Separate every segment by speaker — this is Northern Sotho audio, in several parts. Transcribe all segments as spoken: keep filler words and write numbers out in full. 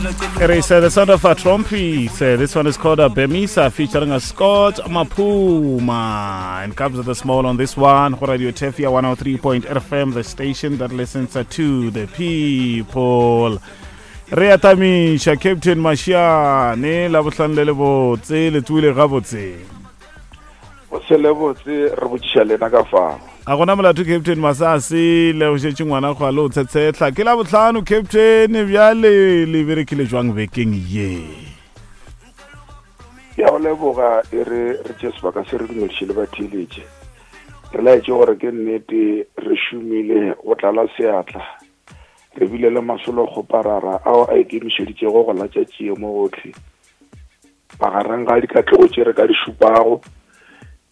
Speaker 1: It is uh, the sound of a trumpet. Uh, this one is called a Bemisa featuring a Scott Mapuma. And comes with the small on this one. Radio Tefia one oh three point eight F M, the station that listens uh, to the people. Re atamisha Captain Mashiane la bohlano le le botse le tsoile gabotse.
Speaker 2: O se le botse re botšiša lena ka fao.
Speaker 1: A gona molato Captain Masase le o šetše ngwana go a le o tshetshehla. Ke la bohlano Captain bjale le berekile jwang bekeng ye?
Speaker 2: Ke a go leboga e re re tše sebaka se re dumediše le batheeletše. Re laetše gore ke nnete re šomile go tlala seatla. Re bile le masolo kgoparara ao a ikemišeditšego go latša tšie mo gohle. Magareng ga dikatlego tše re ka di šupago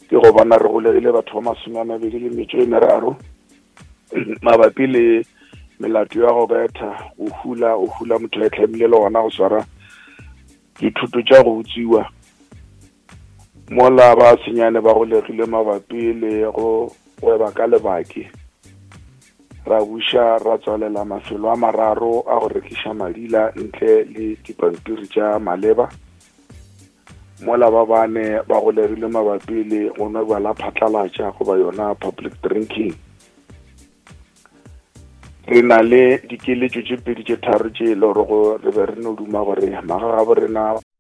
Speaker 2: ke go bona re golegile batho ba masome a mabedi le metšo e meraro mabapi le melato ya go betha, go hula, go hula motho a itlhamile le gona go swara dithuto tša go utswiwa. Mola ba senyane ba golegile mabapi le go gweba ka lebaki. Ra buša ra tswalela mafelo a mararo a go rekiša madila ntle le dipampiri tša maleba. Mola ba bane ba golegile mabapi le go nwa bjala phatlalatša goba yona public drinking. Re na le dikeletšo tše pedi tše tharo tše e le gore re be re no duma gore magagabo rena